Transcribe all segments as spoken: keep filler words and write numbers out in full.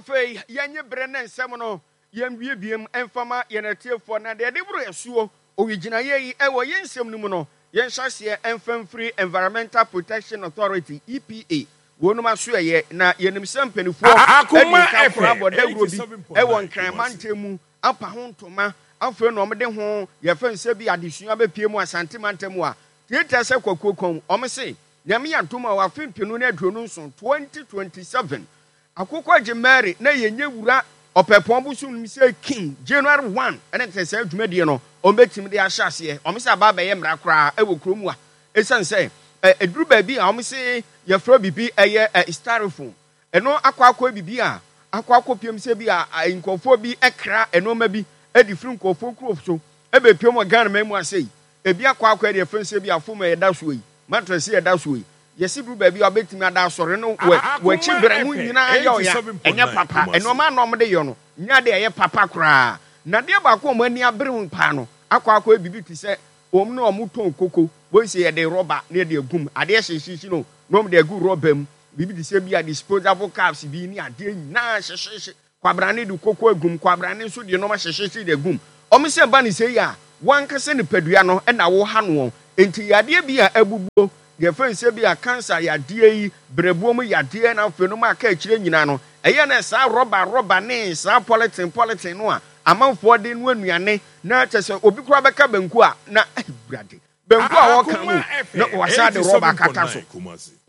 Afei yɛnye berɛ ne nsɛm no yɛnwie biem mfama yɛn atiefoɔ na deɛ yɛde boro asuo owigyinaeɛ yi ɛwɔ yɛn nsɛm no mu no, yɛnhyɛ aseɛ ɛmfa mfiri Environmental Protection Authority, E P A, wɔnom aso ɛyɛ na yɛnim sɛ mpanimfoɔ Akoma ɛde nka kora F M abɔ dawuro bi ɛwɔ eighty-seven point nine Nkran Kumasi. Mantam mu apa ho ntoma. Afei na ɔmde ho yɛfɛ nsɛ bi adesua bɛpie mu Asante mantam a tietia sɛ kwakuo kɔn ɔmo se Nyame yɛ adom a wafe mpenu ne aduonu nson, twenty twenty-seven, akokɔ agye Mary na yɛnyɛ wura Ɔpɛpɔn bosom no sɛ king January one ɛne tɛ sɛ dwumadie no ɔmbɛtumi de ahyɛ aseɛ. Ɔmo sɛ aba abɛyɛ mmara koraa ɛwɔ kurom a ɛsiane sɛ ɛ ɛduru baabi a ɔmo se yɛfrɛ biribi ɛyɛ ɛ styrofoam, ɛno akɔ akɔ biribi a akɔ akɔ piem sɛ bi a a nkurɔfoɔ bi ɛkra nneɛma bi ɛde firi nkurɔfoɔ kuro so ɛbɛpiem wɔ Ghana man mu ase yi, ebi akɔ akɔ ɛde ɛfɛn sɛ bi a foam a yɛda soɔ yi, mattress yɛda soɔ yi, yɛsi duru baabi a wabɛtumi ada asɔre no wɔ wɔakyi berɛ mu nyinaa yɛ ɔya. Ɛnyɛ papa. Nneɛma a na ɔmo de yɛ no nyɛ de ɛyɛ papa koraa. Na adeɛ baako a ɔmo ani abere ho paa no akɔ akɔ bibi te sɛ wɔn na ɔmo tɔn koko wɔn si yɛde rɔba na yɛde agum adeɛ hyehyehye no na ɔmo de agu rɔba mu, biribi te sɛ bi a disposable cups bi ne adeɛ nyinaa hyehyehye. Kwabrane de koko agum, kwabrane nso de nneɛma hyehyehye de agum. Ɔmo sɛ ba ne sɛ yi a wankasa nipadua no ɛna wɔha no wɔn nti yadeɛ bi a abubuo yɛfɛ nsɛ bi a cancer yadeɛ yi, brɛbuo mu yadeɛ, na afei no mu aka akyire nyinaa no ɛyɛ na saa rɔba rɔba ne saa polythene polythene no a amanfoɔ de no anuane na kyɛ sɛ obi koraa bɛka banku a na awurade banku a wɔka no na wasan de rɔba akata so.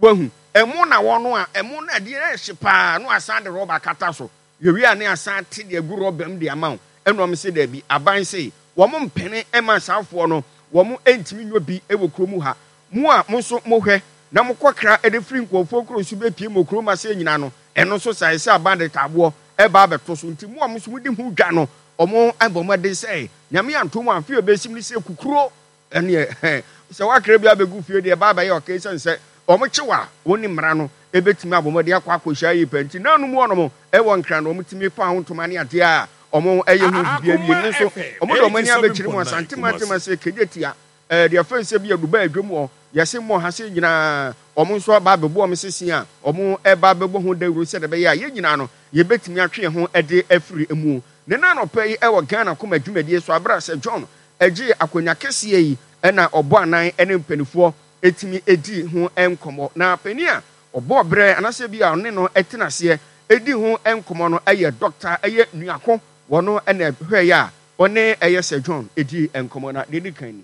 Wahu ɛmo na wɔn a ɛmo na adeɛ ɛhye paa na wasan de rɔba akata so. Yɛwie a ne asan te de agu rɔba mu de ama wo. Ɛna wɔn sɛ daabi, aban se wɔn mpene ɛma saafoɔ no wɔn ntumi nyɔ bi ɛwɔ kurom ha. Mo a mo nso mohwɛ na mokɔ kra ɛde firi nkurɔfoɔ kuro so bɛpie mo kurom ase nyinaa no, ɛno nso sa ɛsɛ aban de taaboɔ ɛba abɛto so. Nti mo a mo nso modi ho dwa no, ɔmo abɔ mo de sɛ Nyame anto mu afe a ɛbɛsim ne sɛ kukuro ɛneɛ sɛ wakra bi abɛgu fie deɛ ɛba abɛyɛ ɔka ɛsiane sɛ ɔmo kyew a wɔn ne mmara no ɛbɛtumi abɔ mmɔden akɔ akɔhyia yi pɛ. Nti nanu mu ɔnom ɛwɔ Nkran no ɔmo tumi fa ho ntoma ne adeɛ a ɔmo ɛyɛ ho bibi awie ne nso ɔmo de ɔmo ani abɛkyerɛ mu Asante mantam sɛ kegye tia ɛɛ deɛ fɛn sɛ bi aduba adwam wɔ yɛse mmɔ ha sɛ nyinaa ɔmo nso aba abɛbɔ ɔmo sisi a ɔmo ɛba abɛbɔ ho dawuro sɛ ɛbɛyɛ a yɛn nyinaa no yɛbɛtumi atwe yɛn ho ɛde afiri mu. Ne nan ɔpɛ yi ɛwɔ Ghana kɔma dwumadie so abere sɛ John ɛgye akonnwa kɛseɛ yi ɛna ɔbɔ anan ɛne mpanimfoɔ ɛtumi ɛdi ho nkɔmmɔ. Na panin a ɔbɔ berɛ anaasɛ bi a ɔne no ɛtena aseɛ ɛdi ho nkɔmmɔ no ɛyɛ Doctor ɛyɛ Nuako. Wɔno ɛna ɛhwɛ yɛ a ɔne ɛyɛ sɛ John ɛdi nkɔmmɔ na deɛ ɛdi kan ni.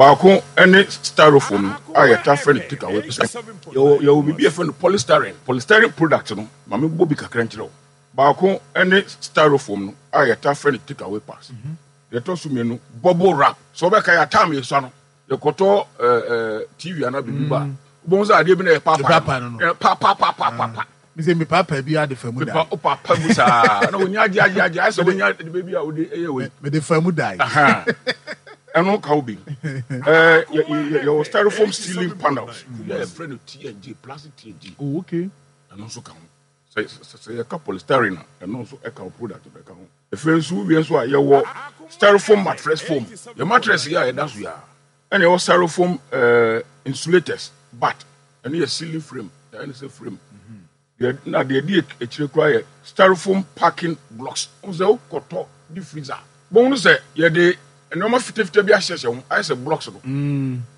Baako ne styrofoam no a yɛta frɛ no take away. Yɛwɔ yɛwɔ biribi a yɛfrɛ no polystyrene. Polystyrene product no, maame bɔ bi kakra nkyerɛ wo. Baako ne styrofoam no a yɛta frɛ no take away packs. Deɛ ɛtɔ so mmienu, bubble wrap. Sɛ wobɛka yɛ atam yɛsua no, yɛkɔtɔ ɛɛ ɛɛ T V anaa biribi ba, wobɛhu sɛ adeɛ bi na yɛ paapaa no no paapaapaapaa. Mesɛ mepaapaa bi ade fa mu da wopaapa mu saa na wonya agye agye agye ayɛ sɛ wonya de baabi a wode ɛyɛ wei. Mede fa mu dae. Ɛno ka wo bi. ɛɛ yɛwɔ styrofoam ceiling panels yɛ yɛfrɛ no T N G, plastic T N G. Oh, okay. Ɛno nso ka ho. sɛ sɛ yɛka polystyrene a, ɛno nso ɛka wo product no ɛka ho. Afei nso wowie nso a, yɛwɔ styrofoam mattress foam, yɛ mattress yɛ a yɛda so yɛ a, ɛna yɛwɔ styrofoam ɛɛ insulators, but ɛno yɛ ceiling frame, ɛne sɛ frame deɛ. Na deɛ di akyire koraa yɛ styrofoam packing blocks. N sɛ wokɔtɔ di freezer bɔn no sɛ yɛde nneɛma fitafita bi ahyehyɛ ho ayɛ sɛ blocks no,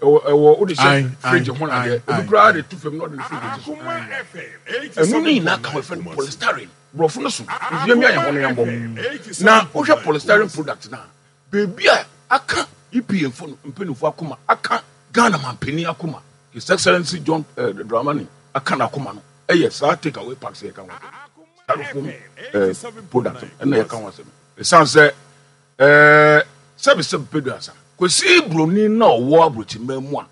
ɛwɔ ɛwɔ wode hyɛ fridge ho na adeɛ ebi koraa de tu fam na ɔde ne fridge ti so. Ɛno ne nyinaa ka ho, ɛfɛ no polystyrene. Borɔfo no so nsuo mi ayɛ ho no yɛn bɔ. Na wohwɛ polystyrene product na beebi a aka E P A fo no mpanyinfoɔ akoma, aka Ghana mampanin akoma, His Excellency John uh, Dramani aka n'akoma no, ɛyɛ saa take away packs yɛ ka ho asɛm, styrofoam uh, product ɛna yɛ ka ho asɛm. Ɛsan sɛ ɛɛ sɛbi sɛbi pedu asa kwesi broni na ɔwɔ aburokyiman mu a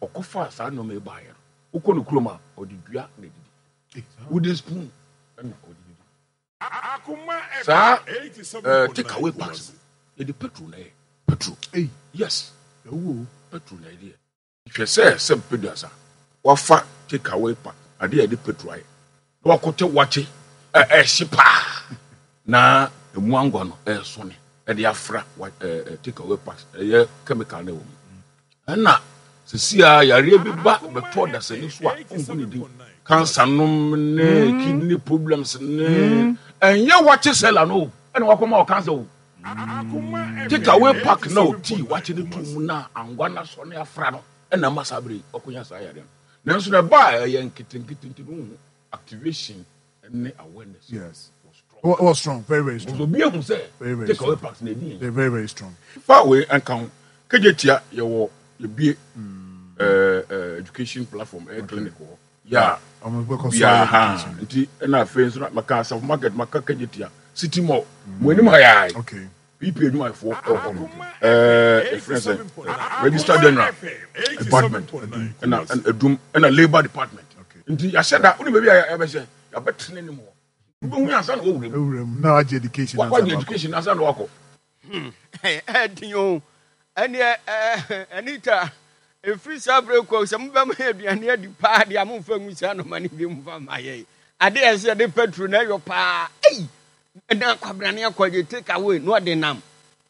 ɔkɔfa saa nneɛma yi baayɛ no, wokɔ ne kurom a, ɔde dua na edidi, wooden spoon ɛna ɔde didi. Saa ɛɛ take away packs no, yɛde petrol na yɛ petrol. Yes, petrol na yɛde yɛ. Hwɛ sɛ sɛbi pedu asa wafa take away pack adeɛ a yɛde petrol ayɛ na wakɔtɛ wakye ɛ ɛhye paa na emu angwa no ɛɛsɔne ɛde afra wa ɛɛ take away packs, ɛyɛ chemical na ɛwɔ mu. Ɛna Sisi a yareɛ bi ba bɛtɔ dasani so a, ɔnhu ne din. Cancer nom ne kidney problems ne ɛnyɛ wakye seller no ɛna wakɔma wɔ cancer o. Take away pack na ɔtii wakye ne to mu na angwa na sɔ ne afra no ɛna ma saa bere ɔkɔnya saa yareɛ no. Nanso na ɛba a ɛyɛ nketenkete nti no ho activation ne awareness. Yes. Was strong. Was strong, very very strong. Obi ehu sɛ take away packs na edi yɛn. Very very strong. Fa wei nka ho, Kejetia yɛwɔ yɛbie ɛɛ ɛɛ education platform, ɛyɛ clinic wɔ yà bia ha nti ɛna afei nso maka Asafo Market, maka Kejetia City Mall mo anim ha yaa P P adwumayɛfoɔ ɛwɔ hɔ no, ɛɛ efirɛ sɛ Registrar General Department ɛna Edum ɛna Labour Department nti yɛahyɛ da wone baabi a yɛbɛhyɛ yɛabɛtena anim hɔ wobɛhu yɛ ansa na wɔwura mu na wagye education wagye education ansa na wakɔ. Ɛdin o, ɛneɛ Anita, ɛfiri saa berɛ kɔ sɛ mobɛma yɛ aduane adi paa deɛ a, momfa ngu saa nɔma no bi mfa ma yɛn. Ade a ɛsɛ yɛde petro na ɛyɔ paa ei, na kwabrane akɔgye take away na ɔde nam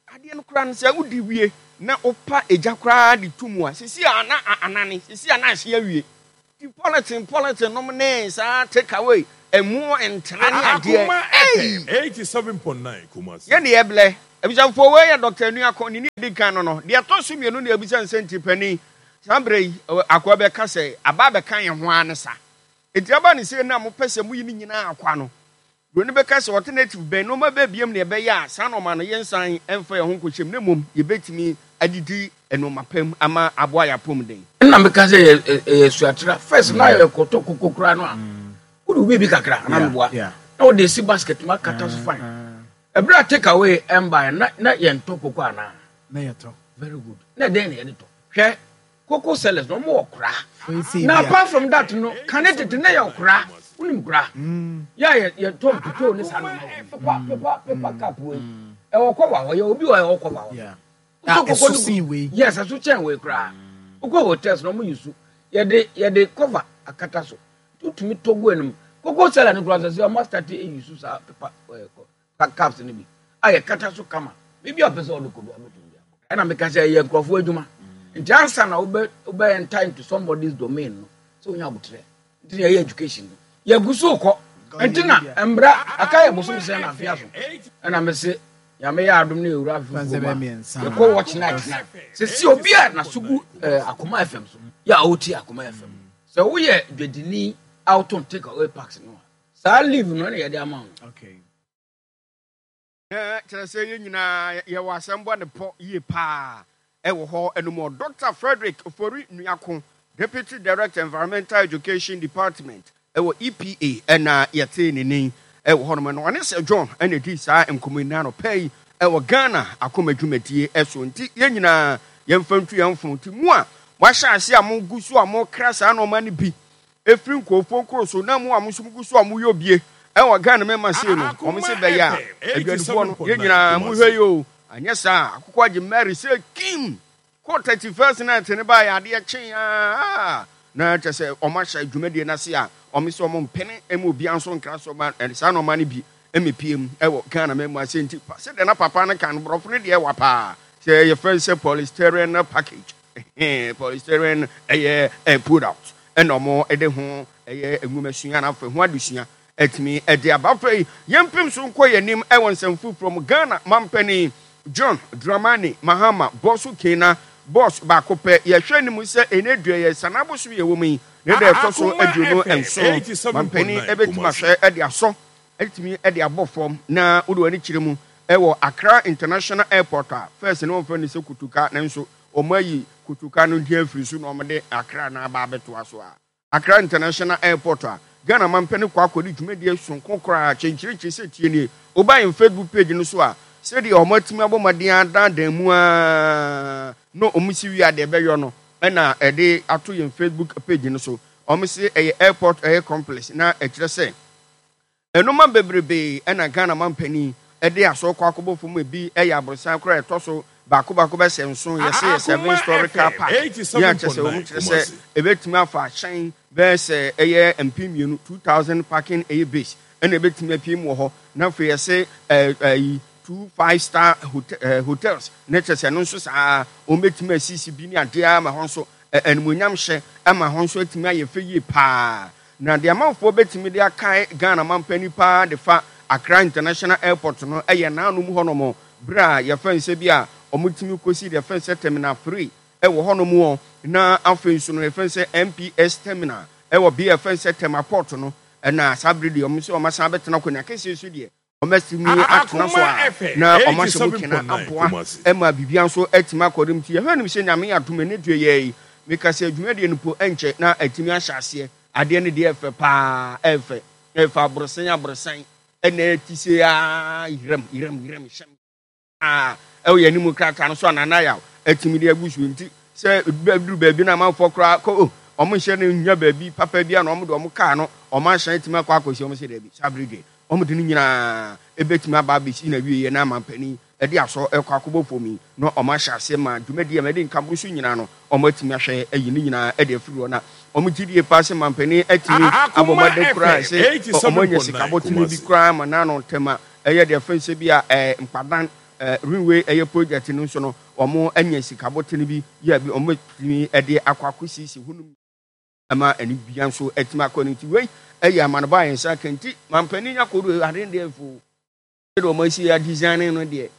adeɛ no koraa no, sɛ wodi wie na wopa egya koraa de to mu a, sisi a na anane, sisi a na ahye awie. Ti polythene polythene nom ne saa take away ɛmu ntere ne adeɛ. Ei, yɛne yɛblɛ. Abusuafoɔ, wei yɛ Doctor Anuako ne ne edi kan no no deɛ ɛtɔ so mmienu na ebisa nsɛnti panin. Saa berɛ yi akoa bɛka sɛ aba abɛka yɛn ho ara ne sa. Enti aba ne sei na mopɛ sɛ moyi ne nyinaa akwa no, buroni bɛka sɛ alternative bɛn, nneɛma bɛn biom na ɛbɛyɛ a saa nneɛma no yɛnsan mfa yɛn ho nkɔhyɛ mu na mmom yɛbɛtumi adidi nneɛma pa mu ama aboa yɛn apɔmuden. Ɛna meka sɛ ɛyɛ suatra first na yɛkɔtɔ koko koraa no a, wode wo biribi kakra anaa meboa na wode si basket mu akata so fine. Ɛberɛ a take away ɛmbaeɛ na na yɛntɔ koko anaa? Na yɛtɔ. Very good. Na ɛdɛn na yɛde tɔ? Hwɛ, koko sellers no, wɔn wɔ kora. Na apart from that no, kane tete na yɛ kora. Wonim kora? Yɛ a yɛ yɛtɔ mputoo ne saa nneɛma wɔ mu. Paper paper paper cup wei. Ɛwɔ kɔva hɔ. Yɛ obi wɔ ɛwɔ kɔva hɔ. Wotɔ koko no gu. Yes, ɛso kyɛn wei koraa. Wokɔ hotels na wɔn yi su. Yɛde yɛde kɔva akata so. Wotumi tɔ gu anim. Koko seller no koraa sɛ sɛ wɔn asate eyi su saa paper ɛɛ cups no bi a yɛkata so kama. Biribi a ɔpɛ sɛ ɔde kɔ bi abɛtumi de akɔ. Ɛna meka sɛ ɛyɛ nkurɔfoɔ adwuma. Nti ansa na wobɛ wobɛ enter into somebody's domain no, sɛ wonya abotrɛ. Nti na yɛyɛ education no. Yɛgu so kɔ. Nti na mbra aka yɛ bosom sɛn na afea so. Ɛna mese Nyame yɛ adom na yɛwura afe foforɔ mu a, yɛkɔ watch night na sɛsi obi a naso gu eh, Akoma F M so yɛ a ɔretie Akoma F M. Sɛ woyɛ dwadini a wotɔn take away packs no a, saa leave no ɛna yɛde ama wo. Okay. Na kyerɛ sɛ yɛn nyinaa yɛwɔ asɛm bɔ ne pɔ yie paa ɛwɔ hɔ ɛno mu. Doctor Frederick Ofori Nuako, Deputy Director, Environmental Education Department ɛwɔ E P A, ɛna yɛtee ne nin ɛwɔ hɔnom no. Ɔne Sir John ɛna di saa nkɔmmɔ yi na anɔpa yi ɛwɔ Ghana akoma dwumadie ɛso. Nti yɛn nyinaa yɛmfa ntu yɛn fo. Nti mu a moahyɛ ase a mogu so a mokra saa nneɛma no bi efiri nkurɔfoɔ nkuro so, na mu a mo nso mogu so a moyɛ obie ɛwɔ Ghana mɛma sei no, wɔn se bɛyɛ a aduanefoɔ no, yɛn nyinaa mohwɛ yi o, anyɛ saa akokɔ agye Mary sɛ kim kɔ thirty-first night ne ba yɛ adeɛ kyee aa, na kyɛ sɛ wɔn ahyɛ dwumadie no ase a wɔn sɛ wɔn mpene ɛma obiara nso nkra so ma saa nneɛma no bi ɛmɛpie mu ɛwɔ Ghana mɛmu ase. Nti sɛdeɛ na papa no ka no, borɔfo no deɛ ɛwa paa sɛ yɛfrɛ sɛ polystyrene package, polystyrene ɛyɛ ɛ product, ɛna wɔn ɛde ho ɛyɛ nwumasua na afei ho adesua ɛtumi ɛde aba. Afei yɛmpem so nkɔ yɛn anim ɛwɔ nsɛm foforɔ mu. Ghana mampanin John Dramani Mahama bɔso kena boss baako pɛ, yɛhwɛ anim sɛ ɛnɛ dua yɛ sanabosom yɛ wɔ mu yi ne da ɛtɔ so aduonu nson, mampanin ɛbɛtumi ahwɛ ɛde asɔ ɛtumi ɛde abɔ fam na wode w'ani kyerɛ mu ɛwɔ Accra International Airport a first ne wɔmfrɛ no sɛ Kotoka, nanso wɔn ayi Kotoka no din afiri so na wɔde Accra na aba abɛtoa so a Accra International Airport a Ghana mampɛ kɔ akɔdi dwumadie sonko koraa kyɛnkyerɛkyerɛ sɛ tie nie. Woba yɛn Facebook page no so a, sɛdeɛ wɔn atumi abɔ mmɔden adandan mu a na wɔn si wie a deɛ ɛbɛyɔ no ɛna ɛde ato yɛn Facebook page no so. Wɔn si ɛyɛ airport ɛyɛ complex na ɛkyerɛ sɛ ɛnoma bebrebe ɛna Ghana mampanin ɛde asɔ kɔ akɔbɔ fam. Ebi ɛyɛ aborosan koraa ɛtɔ so baako baako bɛsɛ nson, yɛsɛ yɛ seven story car park yɛ akyɛ sɛ wɔn kyerɛ sɛ ebɛtumi afa ahyɛn bɛyɛ sɛ ɛyɛ mpem mmienu, two thousand parking ɛyɛ base ɛna ebɛtumi apue mu wɔ hɔ. Na afei yɛsɛ ɛɛ ɛyi two five star hotel ɛɛ hotels ne kyerɛ sɛ ɛno nso saa wɔn bɛtumi asisi bi ne adeɛ ama hɔ nso Animuonyam hyɛ ama hɔ nso atumi ayɛ fɛ yie paa. Na deɛ amanfoɔ bɛtumi de akae Ghana mampanin paa de fa Accra International Airport no yɛ n'anom hɔnom berɛ a yɛfrɛ no sɛ bi a wɔtumi kɔsi deɛ yɛfrɛ no sɛ Terminal three wɔ hɔnom hɔ, na afei nso no yɛfrɛ no sɛ M P S Terminal wɔ bea yɛfrɛ no sɛ Tema Port no. Ɛna saa berɛ deɛ wɔn nso wɔasan abɛtena akonnwa kɛseɛ so deɛ wɔatumi atena so a na wɔahyɛ mu kena aboa ma biribiara nso atumi akɔ do. Nti yɛhwɛ anim sɛ Nyame yɛ adom ɛnɛ dua yi yi meka sɛ dwumadie no po ɛnkyɛ na atumi ahyɛ aseɛ. Adeɛ no deɛ ɛfɛ paa, ɛfɛ ɛfɛ aborosan aborosan ɛna ɛti se aa yerɛm yerɛm yerɛm hyɛm a ɛwɔ yɛn anim krataa no so a Nana Yaw atumi de agu so. Nti sɛ duru baabi na amanfoɔ koraa kɔ o, wɔn nhyɛ no nya baabi papa bi a na wɔn de wɔn kaa no wɔn ahyɛn atumi akɔ akɔsi wɔn sɛ daabi, saa bere deɛ wɔn de no nyinaa ebetumi aba abɛsi na wie yɛ na amampanin ɛde asɔ ɛkɔ akɔbɔ fam yi na wɔn ahyɛ aseɛ ma dwumadie a mɛde nkaboro so nyinaa no wɔn atumi ahwɛ ayi ne nyinaa ɛde afiri hɔ. Na wɔn gye die paa sɛ mampanin atumi abɔ mmɔden koraa sɛ wɔn anya sika bɔtene bi koraa ma n'ano ntɛm a ɛyɛ deɛ fɛn sɛ bi a ɛɛ Mpadan ɛɛ railway ɛyɛ project no nso no wɔn anya sika bɔtene bi yɛ bi wɔn atumi ɛde akɔ akɔsiesie hɔ nom ɛma ɛne bia nso atumi akɔ no. Nti wei ɛyɛ amanebɔ a yɛn nsa ka. Nti mampanin akɔdo ade deɛ fo sɛdeɛ wɔn asi adesign no deɛ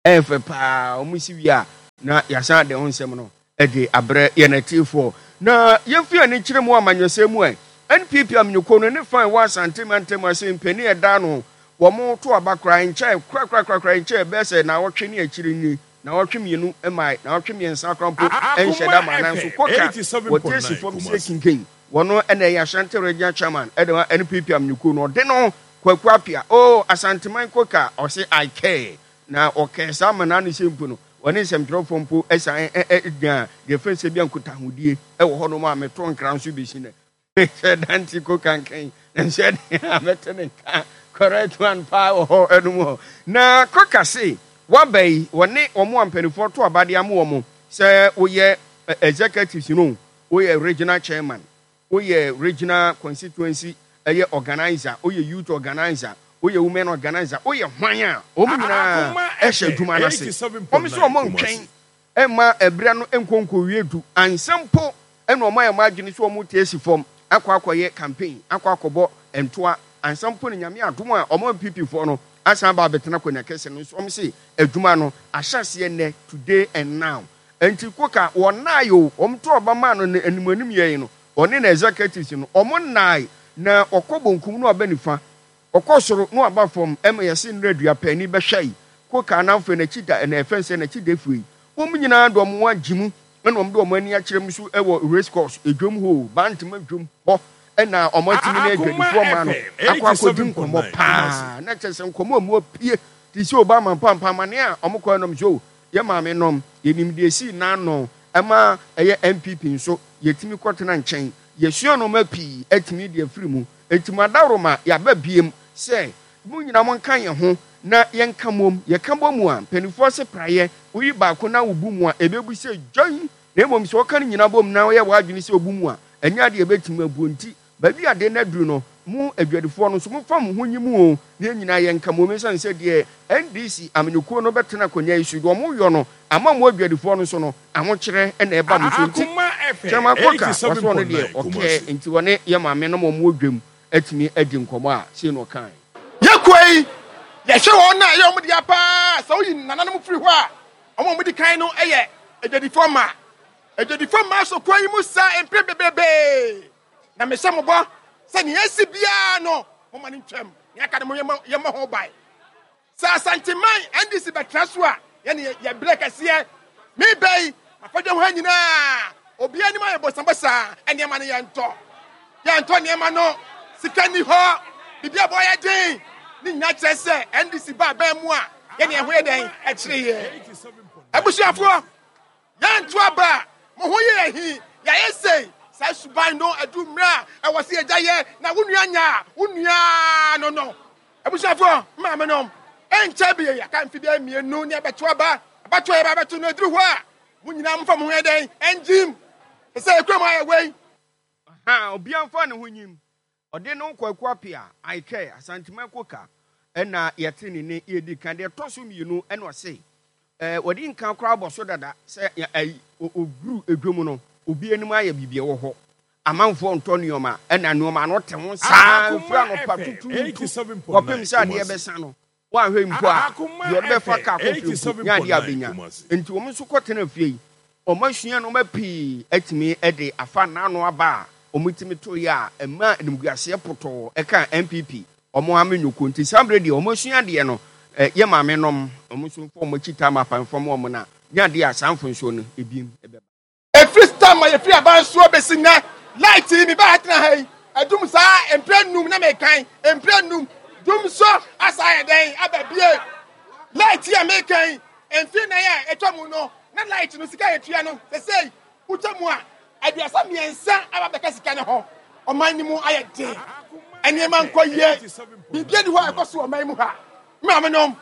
ɛyɛ fɛ paa. Wɔn si wie a na yɛasan de ho nsɛm no ɛde abrɛ yɛn atiefoɔ. Na yɛmfi ani kyerɛ mu amanyɔsɛm mu ɛ N P P amanyɔkuo no ne fan wɔ Asante mantam ase mpanin ɛda no wɔn to aba koraa nkyɛn korakorakorakora nkyɛn bɛyɛ sɛ naawɔtwe ne akyire ni, naawɔtwe mmienu mmaa, naawɔtwe mmiɛnsa koraa mpo nhyɛ da ma. Nanso koka wɔte asi fam sɛ kinkan wɔn ɛna ɛyɛ Ashanti Regional Chairman ɛde ma N P P amanyɔkuo no, ɔde no Kwaku Apia o Asanteman koka ɔse "I care" na ɔkɛɛ saa ama n'ano sɛ mpo no wɔne nsɛmtwerɛfoɔ mpo ɛsan ɛgyina deɛ fɛn sɛ bi a nkutahodie ɛwɔ hɔnom a meto nkra nso bɛsi nɛ sɛ dante ko kankan nso ɛde a mɛte ne nka correct one paa wɔ hɔ ɛnum hɔ. Na koka se waba yi wɔne wɔn a mpanimfoɔ to abadeɛ ama wɔn sɛ woyɛ executives no, woyɛ regional chairman, woyɛ regional constituency ɛyɛ organizer, woyɛ youth organizer, woyɛ women organizer, woyɛ hwan a, wɔn nyinaa ɛhyɛ adwuma no ase. Wɔn nso wɔn ntwɛn ɛma ɛbrɛ no nkonkowie du ansa mpo ɛna wɔn ayɛ wɔn adwene sɛ wɔn te asi fam akɔ akɔyɛ campaign, akɔ akɔbɔ ntoa ansa mpo ne Nyame adom a wɔn N P P foɔ no asan aba abɛtena akonnwa kɛse no nso. Wɔn se adwuma no ahyɛ aseɛ nnɛ, today and now. Nti koka wɔn nnae o, wɔn to ɔba maa no ne anim anim yɛ yi no, ɔne na executives no wɔn nnae na ɔkɔ bonkum na ɔbɛ nifa, ɔkɔ soro na waba fam. Ɛma yɛsi nnura dua paani bɛhwɛ yi koka anafo n'akyi da ɛna ɛfɛn sɛ n'akyi da efue yi wɔn nyinaa de wɔn agye mu ɛna wɔn de wɔn ani akyerɛ mu so ɛwɔ race course edwom hɔ, Bantama dwom hɔ, ɛna wɔn atumi ne adwadifoɔ maa no akɔ akɔdi nkɔmɔ paa. Na kyerɛ sɛ nkɔmɔ a mu apue te sɛ Obama mpampamane a wɔn kɔ ɛnam so yɛ maame nom yɛnim deɛ esi n'ano ɛma ɛyɛ N P P nso yɛtumi kɔtena nkyɛn yɛsua nneɛma pii atumi de afiri mu. Eti mu adaworoma yɛaba biem sɛ mo nyinaa mo nka yɛn ho na yɛnka mom. Yɛka bɔ mu a mpanimfoɔ se praeɛ woyi baako na wobu mu a ebebu sɛ dwan, na mmom sɛ wɔka no nyinaa bom na wɔyɛ w'adwene sɛ obu mu a ɛnyɛ adeɛ ebɛtumi abuo. Nti baabi ade no aduru no, mo adwadifoɔ no nso momfa mo ho nyi mu o na yɛn nyinaa yɛnka mom, ɛsiane sɛ deɛ N D C amanyɔkuo no bɛtena akonnwa yi so deɛ ɔmo yɔ no ama mo adwadifoɔ no nso no ahokyerɛ ɛna ɛba mo so. Nti Chairman Koka wɔsɔ no deɛ ɔkɛɛ nti wɔne yɛ maame no ma ɔmo wɔ dwam atumi adi nkɔmɔ a sei na ɔkae. Yɛkɔ yi yɛhwɛ wɔn a ɛyɛ wɔn dea paa sɛ woyi nananom firi hɔ a wɔn a wɔdi kan no yɛ adwadifoɔ mmaa. Adwadifoɔ mmaa so kwan yi mu saa mpere bebrebe na mehyɛ mo bɔ sɛ nea esi biara no moma no ntwam, nea aka no mo yɛmmɔ ho ban. Sɛ Asanteman N D C bɛtena so a yɛne yɛbrɛ kɛseɛ mebɛ yi afɔdwa ho ha nyinaa obiara anim ayɛ bosabosa. Nneɛma no yɛntɔ yɛntɔ nneɛma no, sika ni hɔ, biribi a bɔyɛ den ne nyinaa kyerɛ sɛ N D C ba abɛn mu a yɛne ɛho yɛ dɛn ɛkyerɛ yɛ. Abusuafoɔ, yɛnto aba a mo ho yɛ ahi yɛayɛ sei saa suban no adu mmerɛ a ɛwɔ sɛ yɛgya yɛ na wo nua nya a wo nua no no Abusuafoɔ, maame nom, ɛnkyɛ bi yɛaka mfe bi mmienu ne ɛbɛto aba. Abatoɔ yɛ ba bɛto no aduru hɔ a mo nyinaa momfa mo ho yɛ dɛn ɛngyim sɛ ɛkura mu ayɛ wei. Ha obiara mfa ne ho nyim. Ɔde no Kwaku Apia Aikɛ Asantema Koka ɛna yɛte ne ne yɛdi kan. Deɛ ɛtɔ so mmienu ɛna ɔse ɛɛ wɔde nka koraa bɔ so dada sɛ ɛyi ɔduru edwom no. Obi anim ayɛ biribi ɛwɔ hɔ. Amanfoɔ ntɔ nneɛma ɛna nneɛma no te ho saa mfiri anɔpa tutuutu kɔpem sɛ adeɛ bɛsa no. Woanhwɛ mpo a deɛ ɔde bɛfa kaa kɔ fie mpo nyɛ adeɛ a bɛnya. Nti wɔn nso kɔtena fie yi, wɔn asua nneɛma pii atumi de afa n'ano aba a wɔtumi to yɛ a ɛma animguaseɛ potɔɔ ɛka N P P wɔn amenyɔkuo. Nti saa mmerɛ deɛ wɔn asua adeɛ no, yɛ maame nom wɔn nso mfa wɔn akyi tam apamfam wɔn na nyɛ adeɛ a saa mfonsoɔ no ebiem ɛbɛba. Efiri stam a yɛfiri aban soɔ bɛsi nnɛ, light yi mebaa ha tena ha yi, adum saa mprɛ nnum na mekan, mprɛ nnum, dum so asa ayɛ dɛn aba bie. Light yi a mekan yi, mfeɛ nnan a atwa mu no, na light no sika a yɛtua no, sɛsɛi wotwa mu a, aduasa mmiɛnsa aba bɛka sika no ho. Ɔman no mu ayɛ den, nneɛma nkɔ yie, biribi ani hɔ a ɛkɔ so wɔ ɔman mu ha. Maame nom,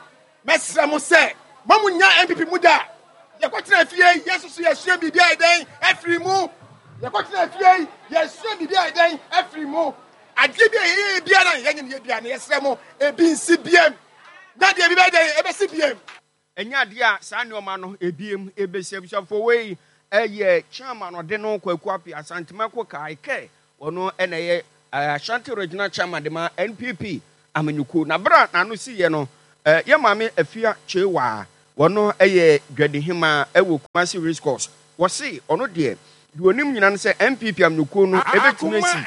mɛsrɛ mo sɛ mo mo nya N P P mu da. Yɛkɔtena fie yi, yɛn nso so yɛsua biribi ayɛ dɛn afiri mu. Yɛkɔtena fie yi, yɛsua biribi ayɛ dɛn afiri mu. Adeɛ bi a yɛyɛ biara na yɛnyɛ no yɛ biara na yɛsrɛ mo ebi nsi biem. Na deɛ bi bɛyɛ dɛn ebɛsi biem. Ɛnyɛ adeɛ a saa nneɛma no ebiem ebɛsi. Abusuafoɔ wei ɛyɛ chairman ɔde no Kwaku Appiah Asantema Kokae kɛ ɔno ɛna ɛyɛ Ashanti Regional Chairman de ma N P P amenyuku. Na bere a n'ano si yɛ no, yɛ maame Afia Chewa wɔno ɛyɛ dwadihema ɛwɔ Kumasi Race Course. Wɔse ɔno deɛ deɛ onim nyina no sɛ N P P amenyukuo no ebɛtumi asi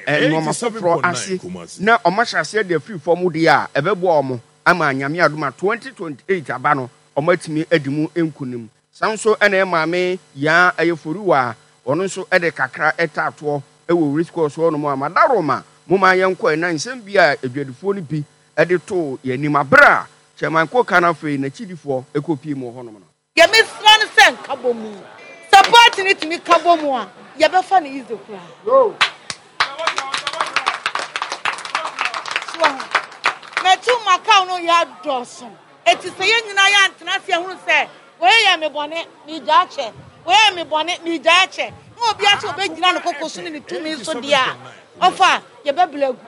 nneɛma foforɔ ase na ɔmo ahyɛ aseɛ de afiri fam deɛ a ɛbɛboa ɔmo ama Nyame adom a twenty twenty-eight aba no ɔmo atumi adi mu nkunim. Saa nso ɛna ɛyɛ maame Yaa ɛyɛ Foriwa ɔno nso ɛde kakra ɛtaatoɔ ɛwɔ race course hɔ nom a Madaroma mo ma yɛnkɔ ɛna nsɛm bi a adwadifoɔ no bi ɛde too yɛn anim abere a Chairman Koka no afei n'akyidifoɔ ɛkɔ pie mu wɔ hɔnom no. Yɛmesra no sɛ nka bɔ mu. Sɛ party no tumi ka bɔ mu a, yɛbɛfa no easy koraa. So mɛtu makaw no yɛ adɔso. Eti sɛ yɛn nyinaa yɛ antena ase ahunu sɛ wɔyɛ yɛ me bɔne, megya akyɛ. Wɔyɛ me bɔne, megya akyɛ. Na obi akyɛ obɛgyina ne koko so ne ne tumi so deɛ a, ɔfa yɛbɛbla agu.